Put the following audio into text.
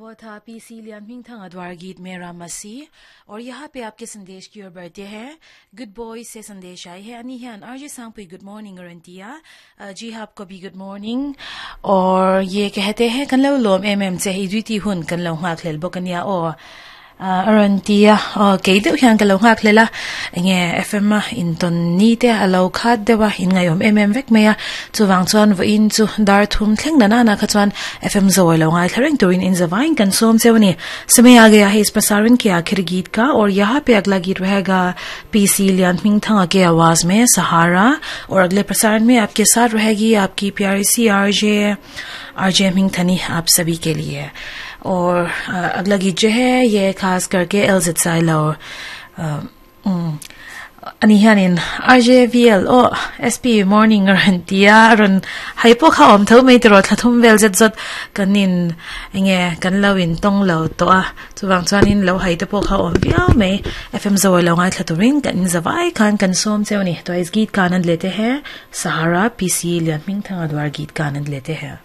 वो था PC Lian द्वार गीत मेरा मसीह। और यहाँ पे आपके संदेश की ओर बढ़ते हैं। गुड बॉय से संदेश आए हैं। अनिहन RJ Sangpui good morning अरंतिया जी हाँ, आपको भी गुड मॉर्निंग। और ये कहते हैं कन लो लोम एम एम चे hi हुन कन लो ngak hlel bokania o arantia ke deuh hian ka lo nghak hlela enge FM a inton ni te alo khat dewa in ngaiom em em vek mai a chuwang chuan vo in chu dar thum thleng na na na kha chuan FM zoi lo ngai thlareng turin in zawain kan som chewni। समय आ गया है इस प्रसारण के आखिरी गीत का और यहाँ पे अगला गीत रहेगा पीसी लियानमिंगथंगा के आवाज में सहारा। और अगले प्रसारण में आपके साथ रहेगी आपकी प्यारी सी आरजे आरजे मिंगथनी आप सभी के लिए। और अगला गीत जो है ये खास करके एलजित silo ani hianin RJVL o SP morning ran tia ron haipo kha om tho mai tro thlathum vel zet zot kanin enge kan lo in tong lo to a chuwang chuanin lo hai te po kha om viau mai। FM zo lo ngai thlaturin kan zawai khan kan som chewni। तो इस गीत का आनंद लेते हैं। सहारा PC लियानमिंगथंगा द्वार गीत का आनंद लेते हैं।